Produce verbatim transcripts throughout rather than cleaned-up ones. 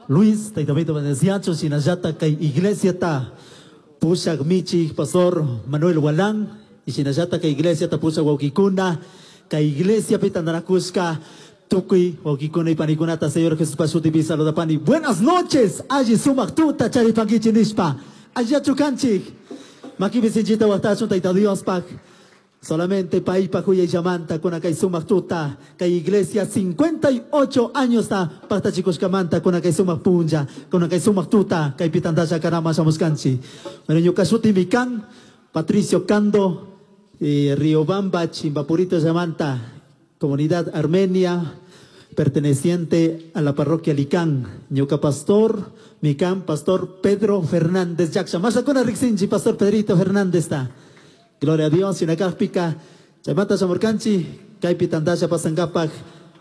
Luis, Taitamito bendeciacho, shinallata kay iglesia ta pushak michi, pastor Manuel Walán, y shinallata kay iglesia ta pushak wawkikuna, kay iglesia pitandanakushka, tukuy wawkikuna y panikunata, Señor Jesús pashutipi saludapani. Buenas noches, alli sumak tuta charipankichi nishpa, allachu kanchik, makipi sinchita waqtachun Tayta Diospak. Solamente paipa huya llamanta con acá sumak tuta, kay iglesia cincuenta y ocho años ta pacta chicos kamanta con acá sumak punja, con acá sumak tuta, kay pitandaya karama shamuskanchi. Bueno, ñuka shuti mikan, Patricio Cando, eh, Riobamba, Chimbapurito llamanta, comunidad armenia, perteneciente a la parroquia Licán. Ñuka pastor, Micán, pastor Pedro Fernández Yaksha. Masakuna Rixinchi, pastor Pedrito Fernández ta. Gloria a Dios, Sinacáspica, Chamata Chamorcanchi, Kaipi Tandaya Pasangapak,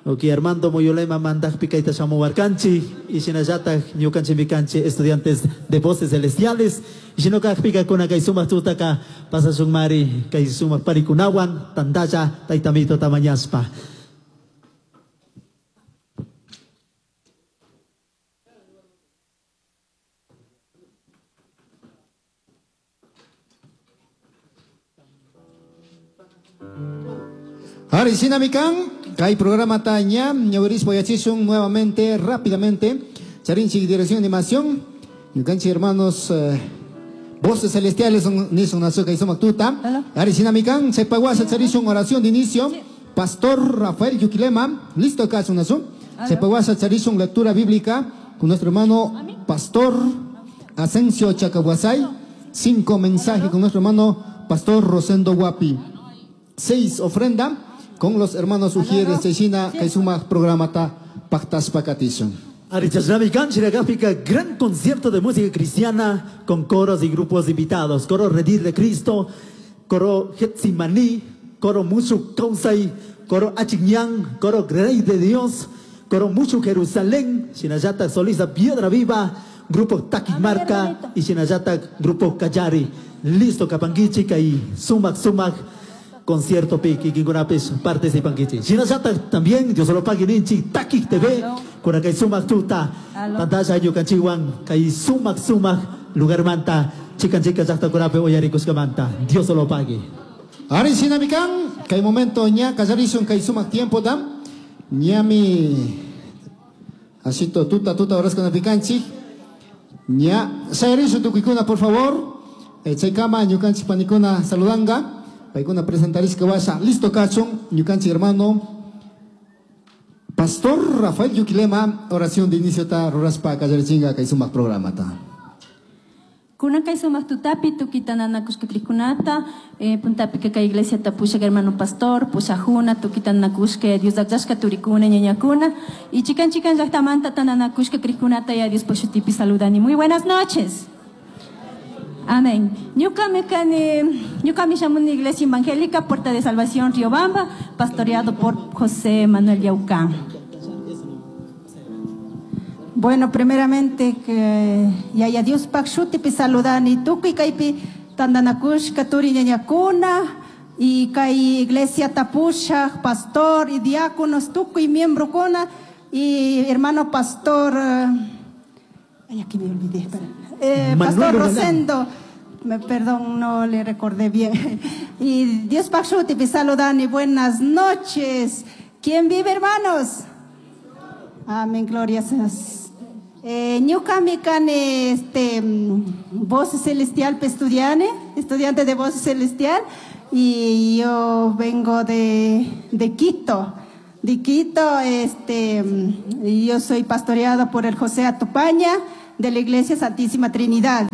Oki Armando Moyolema Mandajpica y Tachamuarcanchi, y Shinayata, Ñucanchi Micanchi, estudiantes de voces celestiales, y Shinocáspica con Akaisuma Tutaka, Pasasumari, Kaisuma Parikunawan, Tandaya, Taitamito Tamañaspa. Arisina Mikan, kay programa taña, ñawiris boyachishun nuevamente, rápidamente. Charinchi, dirección de animación. Ñukanchi hermanos, eh, voces celestiales son nisun nazuka y somactuta. Arisina Mikan, sepaguasa charishun oración de inicio. Pastor Rafael Yuquilema, listo acá sunazu. Sepaguasa charishun lectura bíblica con nuestro hermano Pastor Asensio Chacahuasay. Cinco mensajes con nuestro hermano Pastor Rosendo Guapi. Seis ofrenda con los hermanos Ujieres, Chechina, Kaisuma, programa ta Pactas Pacatishun. Arichasnavi Kanchira Gráfica, gran concierto de música cristiana con coros y grupos invitados. Coro Redir de Cristo, coro Getsimani, coro Musu Kausai, coro Achiñán, coro Rey de Dios, coro Musu Jerusalén, Shinayata Solista Piedra Viva, grupo Taquimarca y Shinayata grupo Cayari. Listo, Capanguichi, y Sumac Sumac. Concierto piki, kinkunapis participankichi. Shinallata también, Dios lo pague ninchi, Takik T V, con acá sumac tuta, pantalla yucanchiwan, kay sumac sumac, lugar manta, chican chica llaqta kunapi uyarikusqamanta. Dios lo pague. Ari sinamikan, kay momento ña kallarishun kay sumac tiempo dam, ñami asito tuta tuta horas kunapikanchik, ña sayarishun tukuykuna por favor, eh, chaykama ñukanchik panikuna saludanga. Paikuna presentarishka washa. Listo kachun, ñukanchik hermano Pastor Rafael Yuquilema, oración de inicio ta ruraspa kallarichinga kay sumak programa ta. Kunan kay sumak tutapi tukitananakushka krikunata, eh, puntapi que kay iglesia ta pusha hermano pastor, pusha juna, tukitananakushka Dios akllashka turikuna ñañakuna, y chikan chikan llaqtamanta tananakushka krikunata ya Dios poshutipi saludani. Muy buenas noches. Amén. Ñuka me kani, ñuka me llamo una iglesia evangélica, Puerta de Salvación, Riobamba, pastoreado por José Manuel Yaucán. Bueno, primeramente que yaya Dios pakshuti saludani tukuy kaypi tandanakushka turi ñañakuna y kay iglesia tapusha, pastor y diáconos tukuy miembro kuna y hermano pastor, ay, aquí me olvidé, espera. Eh, Manuel Pastor Orellana. Rosendo, me, perdón, no le recordé bien. Y Dios pakshuti saludani, buenas noches. ¿Quién vive, hermanos? Amén, gloria a Dios. Eh, ñuka mi kani, este, voz celestial estudiante, estudiante de voz celestial, y yo vengo de, de Quito. De Quito, este, y yo soy pastoreado por el José Atupaña de la Iglesia Santísima Trinidad.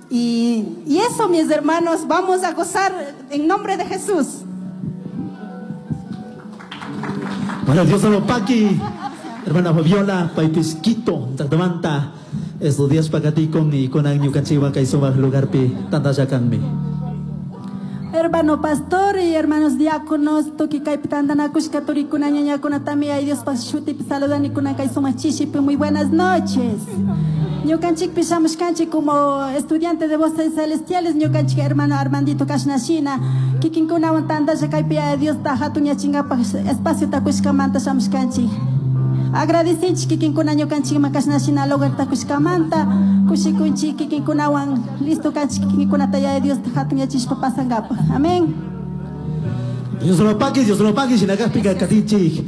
Y, y eso, mis hermanos, vamos a gozar en nombre de Jesús. Bueno, Dios lo paqui. Hermana Fabiola, paipis Quito, Tactamanta, estos días pacaticon y con año cachiva caizoma lugar pi, tanta yacanmi. Hermano pastor y hermanos diáconos, toki kaypi tantanakushka turikuna ñañakuna también ay Dios pashuti saludani kuna kay sumaq chishipi, muy buenas noches. Ñukanchikpi shamushkanchik como estudiante de voces celestiales, ñukanchik hermano Armandito Kashnashina, kikinkunawan tantasha kaypi ay Dios ta hatun yachingapaj espacio takushkamanta shamushkanchik. Agradecinchik kikinkuna ñukanchikman kashna shina lugarta kushkamanta, kushikunchik kikinkunawan listo kanchik kikinkunata Yaya Diosta hatunyachishpa pasankapaq. Amén. Dios lo pague, Dios lo pague, shinakajpika katinchik.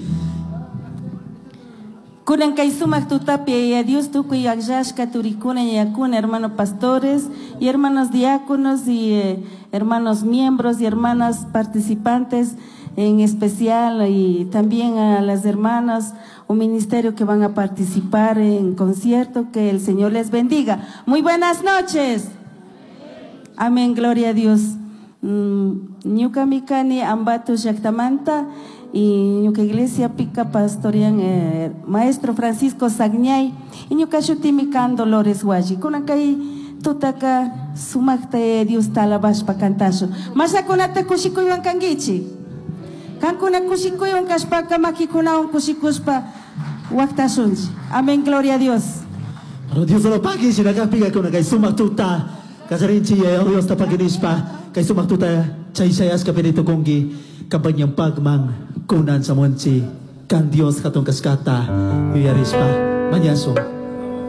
Kunan kay sumak tutapi Yaya Dios tukuy akllashka turikuna ñañakuna, hermanos pastores y hermanos diáconos y eh, hermanos miembros y hermanas participantes en especial, y también a las hermanas o ministerio que van a participar en concierto, que el Señor les bendiga. Muy buenas noches. Amén, gloria a Dios. Mm, ñuka mikani Ambato llaktamanta y ñuka iglesia pica pastorian eh, maestro Francisco Sagñay y ñuka shutimi kan Dolores Hualli. Kunan kay tutaka sumakta Dios talabashpa kantashu. Mashakunata kushikuywan kankichi. Kankuna kushikuywan kashpaka makikunawan kushikushpa waktashunchi. Amén, gloria a Dios. Dios lo pague, shinakajpika kuna kay sumak tuta. Kasarinchi Yaya Dios tapakinishpa kay sumak tuta chay shayashka perito kungi kampanyang pagman kunan sa monchi kan Dios hatun kaskata yuyarishpa mañaso.